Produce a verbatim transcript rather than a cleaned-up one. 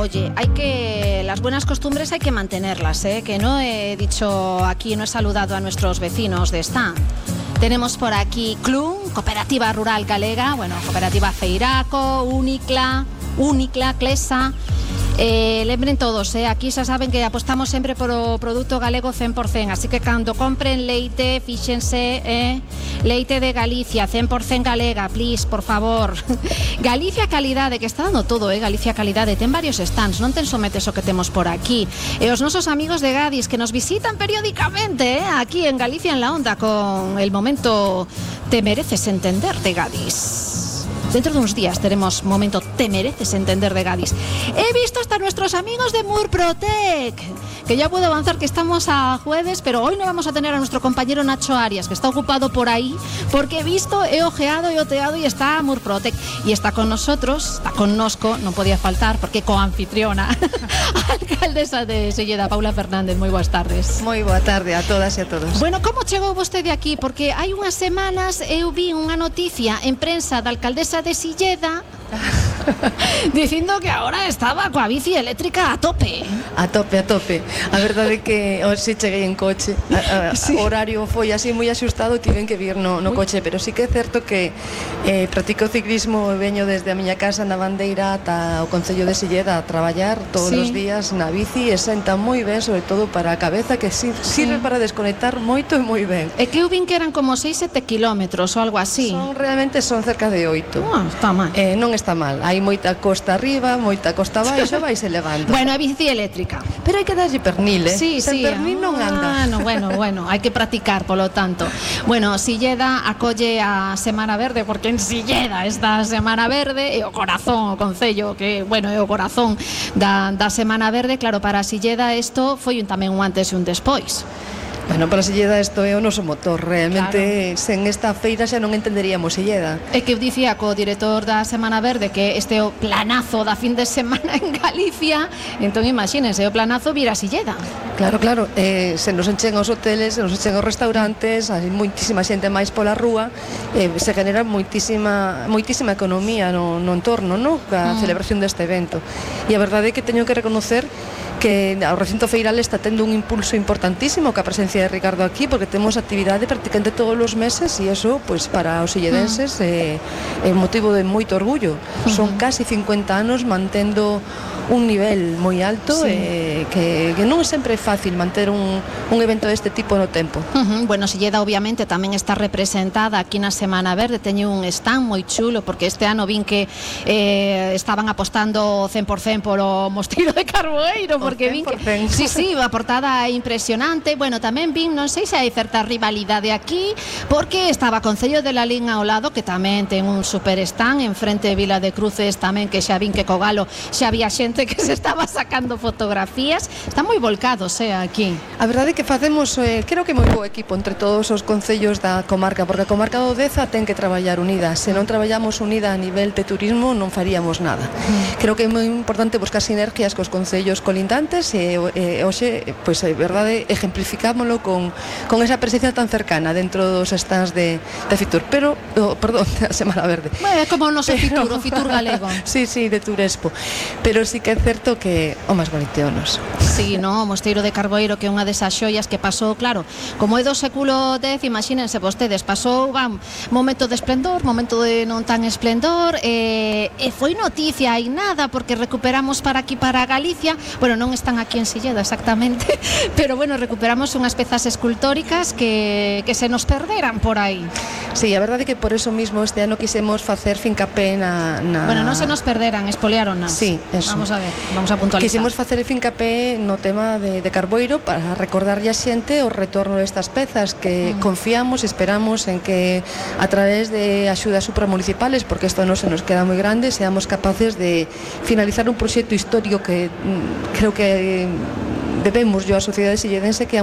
oye, hay que, las buenas costumbres hay que mantenerlas, ¿eh? Que no he dicho aquí, no he saludado a nuestros vecinos de esta. Tenemos por aquí Clun, Cooperativa Rural Galega, bueno, Cooperativa Feiraco, Unicla, Unicla, Clesa. Eh, lembren todos, eh, aquí xa saben que apostamos sempre por o produto galego cen por cen, así que cando compren leite, fíxense, eh, leite de Galicia, cen por cen galega, please, por favor. Galicia Calidade, que está dando todo, eh, Galicia Calidade, ten varios stands, non ten sometes o que temos por aquí. E os nosos amigos de Gadis que nos visitan periódicamente, eh, aquí en Galicia en la Onda con el momento Te mereces entender de Gadis. Dentro de unos días tenemos momento Te mereces entender de Gadis. He visto hasta nuestros amigos de Murprotec, que ya puedo avanzar que estamos a jueves, pero hoy no vamos a tener a nuestro compañero Nacho Arias, que está ocupado por ahí, porque he visto, he ojeado, he oteado y está Murprotec. Y está con nosotros, está con nosco, no podía faltar, porque coanfitriona, alcaldesa de Silleda, Paula Fernández. Moi boas tardes. Moi boa tarde a todas e a todos. Bueno, como chegou vostede aquí? Porque hai unhas semanas eu vi unha noticia en prensa da alcaldesa de Silleda dicindo que agora estaba coa bici eléctrica a tope. A tope, a tope. A verdade é que hoxe cheguei en coche. A, a, sí. O horario foi así moi axustado, tiven que vir no, no coche, pero sí que é certo que eh, practico ciclismo e veño desde a miña casa na Bandeira ata o Concello de Silleda a traballar todos sí. os días na bici e senta moi ben, sobre todo para a cabeza, que sí, sirve sí. para desconectar moito e moi ben. É que eu vin que eran como seis, sete kilómetros ou algo así. Son, realmente son cerca de oito. Ah, está mal. Eh, non está mal. Hai moita costa arriba, moita costa baixo, vais elevando. Bueno, a bici eléctrica. Pero hai que darlle pernil, eh? Sí, Sen sí. pernil non anda. Ah, no, bueno, bueno, hai que practicar, polo tanto. Bueno, Silleda acolle a Semana Verde, porque en Silleda esta Semana Verde é o corazón, o concello, que, bueno, é o corazón da, da Semana Verde. Claro, para Silleda isto foi un, tamén un antes e un despois. Bueno, para Silleda isto é o noso motor. Realmente, claro. Sen esta feira xa non entenderíamos Silleda. É que eu dicía co director da Semana Verde que este é o planazo da fin de semana en Galicia. Entón, imagínense, o planazo vira Silleda. Claro, claro, eh, se nos enchen os hoteles, se nos enchen os restaurantes, hai moitísima xente máis pola rúa, eh, se genera moitísima moitísima economía no, no entorno, no? A mm. celebración deste evento. E a verdade é que teño que reconocer que o recinto feiral está tendo un impulso importantísimo ca presencia de Ricardo aquí, porque temos actividade prácticamente todos os meses e eso, pues, para os silledenses é, é motivo de moito orgullo. Son casi cincuenta anos mantendo un nivel moi alto, sí. eh, que, que non é sempre fácil manter un, un evento deste tipo no tempo. Uh-huh. Bueno, Silleda obviamente tamén está representada aquí na Semana Verde, teño un stand moi chulo, porque este ano vin que eh, estaban apostando cen por cen por o Mosteiro de Carboeiro, porque vin que sí, sí, a portada é impresionante. Bueno, tamén vin, non sei se hai certa rivalidade aquí, porque estaba Concello de la Lin ao lado, que tamén ten un super stand en frente de Vila de Cruces tamén, que xa vin que co Galo xa había xente que se estaba sacando fotografías. Están moi volcados, eh, aquí. A verdade é que facemos, eh, creo que moi bo equipo entre todos os concellos da comarca, porque a comarca do Deza ten que traballar unida. Se non traballamos unida a nivel de turismo, non faríamos nada. Mm. Creo que é moi importante buscar sinergias cos concellos colindantes e, e hoxe, pois, é verdade, ejemplificámoslo con, con esa presencia tan cercana dentro dos stands de, de Fitur, pero, oh, perdón, da Semana Verde. Bueno, é como o noso pero, Fitur, o Fitur galego. Sí, sí, de Turespo. Pero sí que é certo que o máis bonito é o noso. Sí, no, o Mosteiro de Carboeiro, que é unha desas xoias que pasou, claro, como é do século dez, imagínense vostedes, pasou, van, momento de esplendor, momento de non tan esplendor, e, e foi noticia e nada, porque recuperamos para aquí, para Galicia, bueno, non están aquí en Silleda exactamente, pero bueno, recuperamos unhas pezas escultóricas que, que se nos perderan por aí. Sí, a verdade é que por eso mismo este ano quisemos facer fincapé na... na... Bueno, non se nos perderan, espoliaron-nas. Sí, eso. Vamos a ver, vamos a puntualizar. Quisimos facer fincapé no tema de, de Carboeiro para recordarlle a xente o retorno destas pezas, que mm. confiamos e esperamos en que a través de axudas supramunicipales, porque isto non se nos queda moi grande, seamos capaces de finalizar un proxecto histórico que mm, creo que debemos yo a sociedade silledense, que é